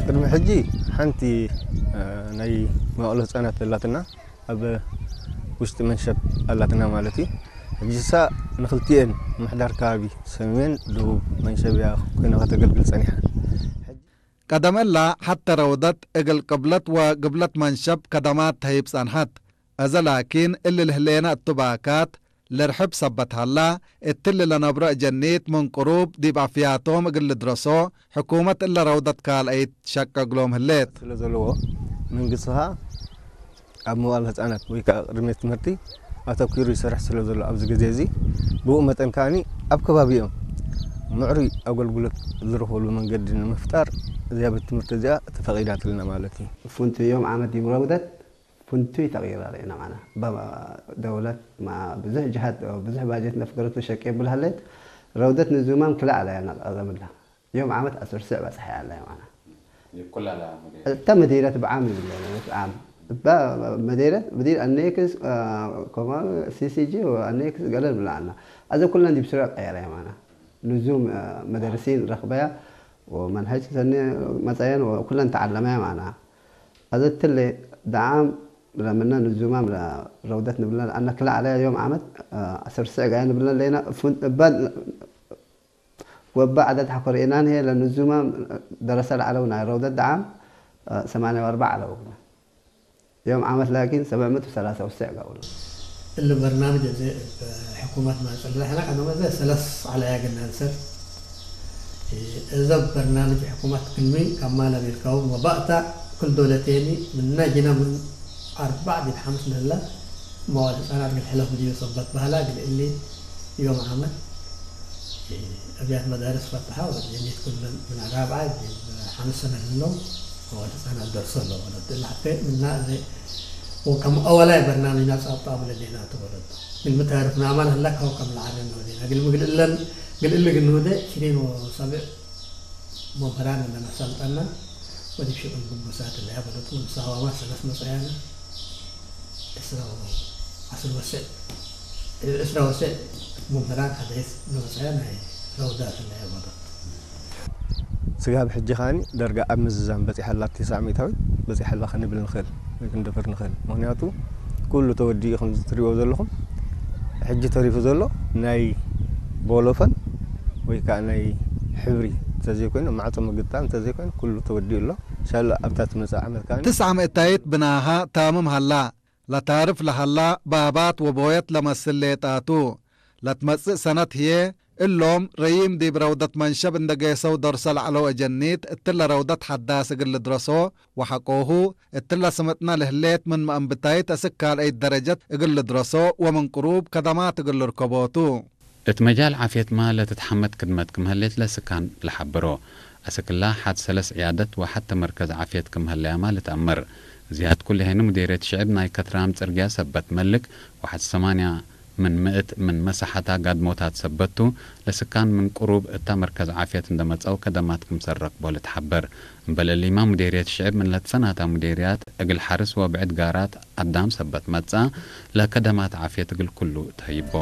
ቅድሚ ሕጂ ሓንቲ ናይ መዋእለ ህፃናት ኣላትና፣ ኣብ ውሽጢ መንሸብ ኣላትና ማለት እዩ። ሕጂ ሳ ንክልቲኤን ምሕዳር ከባቢ ሰሜን ደቡብ መንሸብ እያ ኮይና ከተገልግል ፀኒሓ። ቀደመላ ሓተ ረውደት እግል ቅብለት ወግብለት መንሸብ ከደማት ተሂብ ጸንሐት። እዘ ላኪን እሊ ልህሌነ እቱ ባካት ልርሕብ ሰበት ሀላ፣ እትሊ ለነብሮ እጀኒት ምን ቅሩብ ዲብ ኣፍያቶም እግል ልድረሶ፣ ሕኩመት እለ ረውደት ካልአይት ሸቀ እግሎም ህሌት። ስለ ዘለዎ መንግስቲ ኸኣ ኣብ መዋእለ ህጻናት ወይ ከዓ ቅድመ ትምህርቲ ኣተኲሩ ይሰርሕ ስለ ዘሎ ኣብዚ ግዜ እዚ፣ ብኡ መጠን ከኣኒ ኣብ ከባቢኦም ምዕሩይ ኣገልግሎት ዝረኽብሉ መንገዲ ንምፍጣር እዚኣ ቤት ትምህርቲ እዚኣ ተፈቒዳትልና ማለት እዩ። ፍንትዮም ዓመት ዲምረውደት ፍንቱይ ተቕይራ ርኢና ማና። ደውለት ብዙሕ ጅሃት ብዙሕ ባጀት ነፍገረቱ ሸቂ የብል ሃለት ረውደት ንዙማም ክላዕላ እያ ናቀረምላ ዮም ዓመት ኣስር ስዕ በጽሐ ኣላ ማና። እታ መዲረት ብዓም ይብለ ዓም እባ መዲረት ብዲር ኣኔክስ ኮማ ሲሲጂ ኣኔክስ ገለ ብላና ኣዘ ኩለን ዲብ ስረ ቀየረ ማና። ንዙም መደርሲን ረኽበያ ወመንሀጅ ሰኒ መጸየን ኩለን ተዓለመያ ማና። ኣዘ ትለ ደዓም ለምነ ንዙማም ረውደት ንብለን ኣነ ክላ ዓለያ ዮም ዓመት ኣስር ስዕ ጋያ ንብለን ለይና እባ ወባ ዓደት ሓኮር ኢናን ሄ ለንዙማም ደረሰ ለዓለው ናይ ረውደት ደዓም ሰማንያ ወኣርባዕ ዓለው ዮም ዓመት ላኪን ሰብዕ ምእት ወሰላሳ ወስዕ ጋውሎ። እሊ በርናምጅ እዚ ሕኩመት ማጽል ዛሕና ቀደመ ዘ ሰለስ ዓላያ ግናንሰር እዘ በርናምጅ ሕኩመት ክልሚ ከማለ ቢልካው መባእታ ክል ዶለቴኒ ምና ጅና ምን ኣርባዕ ዲብ ሓምስ ለላ መዋል ህጻናት ግል ሕለፍ ብድዮ ሰበት ባህላ ግል እሊ ዮም ዓመት ኣብያት መዳርስ ፈትሓ ወጀኒት ክልል ምን ራብዓ ዲብ ሓምስ ሰነ ህሎ መዋል ህጻናት ደርሶ ኣሎ ወለድ እላ ሓተ ምና እዘ ወከም ኣወላይ በርናምጅና ጻብጣ ብለዴና ተወለዶ ግል ምታርፍ ናማን ህላ ካው ከም ለዓለ ነወዴና ግል ምግልእለን ግልእሊ ግንወደ ሽኔን ወሰብዕ መምህራን እነመሰልጠና ወዲብ ሽቅል ግቡሳት እለያ በለቱ ንሳዋማ ሰለስ መጸያና እስራ ወ- ዓስር ወስዕ እስራ ወስዕ መምህራን ሓደስ ንወፀያ ናይ ረውዳት እለያ በለቱ። ስጋብ ሕጂ ከኣኒ ደርጋ ኣብ ምዝዛም በፂሓ ኣላ፣ ኣብ ተስዓ ሚእታዊት በፂሓ ኣላ ክንብል ንኽእል ወይ ክንደፍር ንኽእል። ምኽንያቱ ኩሉ ተወዲኡ ከም ትሪእዎ ዘለኹም ሕጂ ተሪፉ ዘሎ ናይ ቦሎፈን ወይ ከዓ ናይ ሕብሪ እንተዘይኮይኑ ማዕፆ ምግጣም እንተዘይኮይኑ ኩሉ ተወዲኡ ኣሎ። ሻላ ኣብታ ትመፅእ ዓመት ከዓ ትስዓ ምእታይት ብናሃ ታምም ሃላ ለታርፍ ለሃላ ባባት ወቦየት ለመስል ሌጣቱ። ለትመጽእ ሰነት ህዬ እሎም ረዪም ዲብ ረውደት መንሸብ እንደ ጌሰው ደርሰ ለዐለው እጀኒት እትለ ረውደት ሐዳስ እግል ልድረሶ ወሐቆሁ እትለ ስምጥነ ለህሌት ምን መአንብታይት እስክ ካልአይት ደረጀት እግል ልድረሶ ወምን ቅሩብ ከደማት እግል ልርከቦቱ። እት መጃል ዓፍየትማ ለትትሐመድ ክድመት ክም ህሌት ለስካን ለሐብሮ። አስክላ ሐድ ሰለስ ዕያደት ወሐተ መርከዝ ዓፍየት ክም ህለያማ ልትአመር። ዝያድ ኩልሄኒ ሙዴርየት ሽዕብ ናይ ከትራም ጽርግያ ሰበት መልክ ወሐድ ሰማንያ ምን ምእት ምን መሳሐታ ጋድሞታት ሰበቱ ለስካን ምን ቅሩብ እታ መርከዝ ዓፍየት እንደመጸው ከደማት ክምሰል ረክቦ ልትሐበር። እምበል እሊማ ሙዴርየት ሽዕብ ምን ለትሰናታ ሙዴርያት እግል ሐርስ ወብዕድ ጋራት አዳም ሰበት መጽአ ለከደማት ዓፍየት እግል ኩሉ ተህይቦ።